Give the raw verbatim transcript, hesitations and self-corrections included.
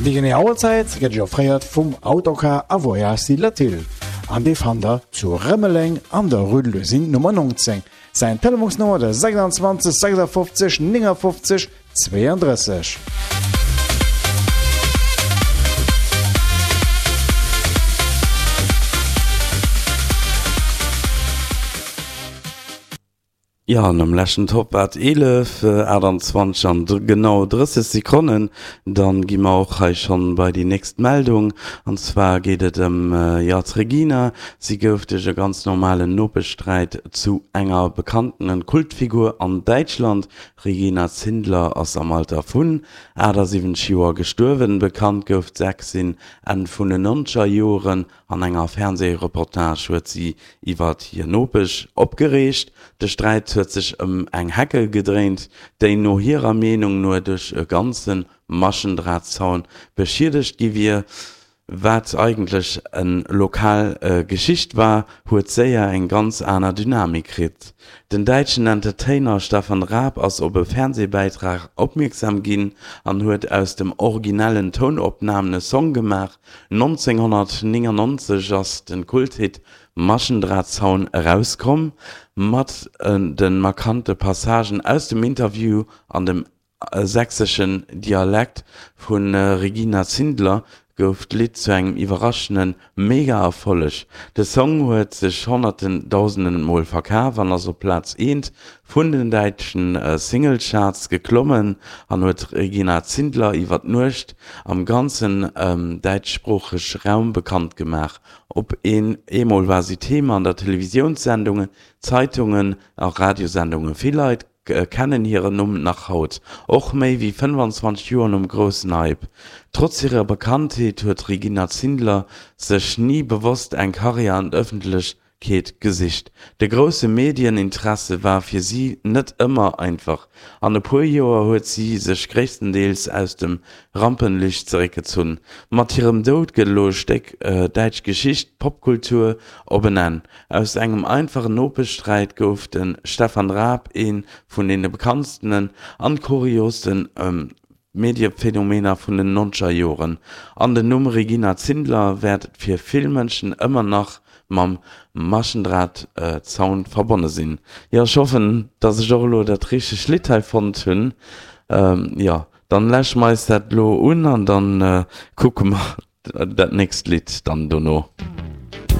Déi genee Auerzäit gëtt Iech offréiert vum Autocar a Voyage Latil an dee fannt der zu Rëmeleng an der Rue de l'Usine Nummer neunzéng. Säin Telefonsnummer de sechsundzwanzeg sechsundfünfzig neunundfünfzig zweiunddrësseg. Jo, an am leschten Top war et eelef, aachtandzwanzeg an genau drësseg Sekonnen. Dann gi mer och hei schonn bei déi nächst Meldung. An zwar geet et ëm, jo, d'Regina. Si gouf duerch e ganz normalen Nopeschsträit zu enger bekanntenen Kultfigur an Däitschland. Regina Zindler ass am Alter vun achtasiwwenzeg Joer gestuerwen. Bekannt gouf d'Sächsin Enn vun den nonzeger Joren. An enger Fernsehreportage huet si iwwert hir Nopesch opgereegt. De Sträit huet sech ëm eng Heckel gedréint, déi no hirer Meenung no duerch e ganze Maschendrahtzaun beschiedegt gi wier. Wat eigentlech en lokal Geschicht war, huet séier eng ganz aner Dynamik kritt. Den däitschen Entertainer Stefan Raab ass op e Fernsehbäitrag opmierksam ginn an huet aus dem originellen Tounopnamen e Song gemaach. nonzénghonnertnéngannonzeg ass de Kulthit Maschendrahtzaun erauskomm, mat de markante Passagen aus dem Interview an dem sächseschen Dialekt vu Regina Zindler gouf d'Lidd zu engem iwwerraschende Mega-Erfolleg. De Song huet sech honnerten dausenden Mol verkaf an ass op Plaz eent vun den däitschen Singlecharts geklommen an huet d'Regina Zindler iwwer Nuecht am ganzen däitschsproochege Raum bekannt gemaach. Op eemol war si Thema an der Televisiounssendungen, Zeitungen a Radiosendungen. Vill Leit kennen hiren Numm nach haut, och méi wéi fënnefanzwanzeg Joer nom groussen Hype. Trotz hirer Bekanntheet huet d'Regina Zindler sech ni bewosst eng Karriär an d'Ëffentlechkeet gesicht. De grousse Medieninteresse war fir si net ëmmer einfach. An e puer Joer huet si sech gréisstendeels aus dem Rampenlicht zeréckgezunn. Mat hirem Doud geet elo e Stéck däitsch Geschicht, Popkultur, op en Enn. Aus engem einfachen Nopeschsträit gouf de Stefan Raab ee vun deene bekanntsten an kuriooste Mediephenomener vun den nonzeger Joren. An den Numm Regina Zindler wäert fir vill Mënschen ëmmer nach mam Maschendrahtzaun verbonne sinn. Jo, ech hoffen, dass ech och elo dat richtegt Lidd hei fonnt hunn. Jo, dann läsche mer eis dat elo un an dann kucke mer dat nächst Lidd dann dono.